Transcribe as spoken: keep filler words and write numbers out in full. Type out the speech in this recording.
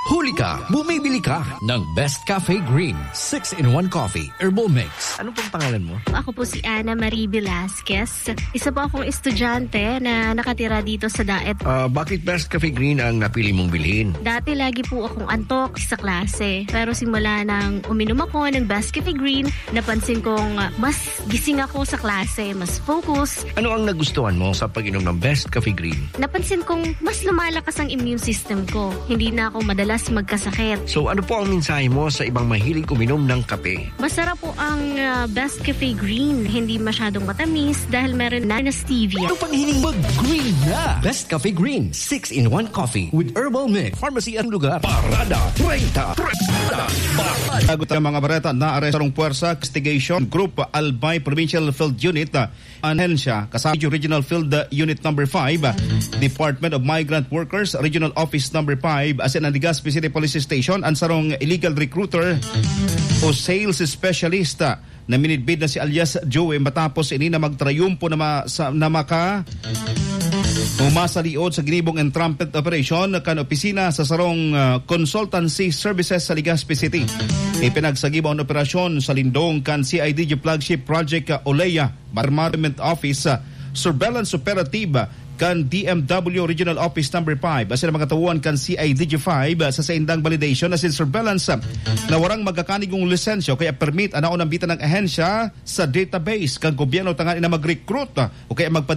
Huli ka, bumibili ka ng Best Cafe Green six-in-one Coffee Herbal Mix. Ano pong pangalan mo? Ako po si Ana Marie Velasquez. Isa po akong estudyante na nakatira dito sa Daet. Ah, bakit Best Cafe Green ang napili mong bilhin? Dati lagi po akong antok sa klase. Pero simula nang uminom ako ng Best Cafe Green, napansin kong, ah, mas gising ako sa klase, mas focus. Ano ang nagustuhan mo sa pag-inom ng Best Cafe Green? Napansin kong mas lumalakas ang immune system ko. Hindi na ako madalas magkasakit. So, ano po ang mensahe mo sa ibang mahilig uminom ng kape? Masarap po ang, ah, Best Cafe Green. Hindi masyadong matamis dahil meron na, na stevia. Ano pang hiling mag-green na? Best Cafe Green, six-in-one Coffee with Herbal Mix. Pharmacy ang lugar. Parada treinta. Parada. Parada. Tagot ang mga bareta na arestong puwersa, investigation group, Albay Provincial Field Unit, ah, ahensya, kasama Regional Field, ah, Unit number five, ah, Department of Migrant Workers, Regional Office number five, asin ang Legazpi City Police Station, ang sarong illegal recruiter o sales specialist, ah, na minidbid na si alias Joey matapos ini na magtrayumpo na ma-, sa, na maka-, o masaliod sa ginibong entrapment operation kan opisina sa sarong, ah, consultancy services sa Legazpi City. Ipinagsagiba ang operasyon sa lindong kan C I D G flagship project, ah, Olea, Marmarment Office, ah, surveillance operative, ah, kan D M W Regional Office number five, asin ang mga tauhan kan C I D G five, ah, sa saindang validation asin surveillance, ah, na warang magkakanigong lisensya o kaya permit, an naunambitan ng ahensya sa database kan gobyerno tanganing na mag-recruit, ah, o kaya magpadala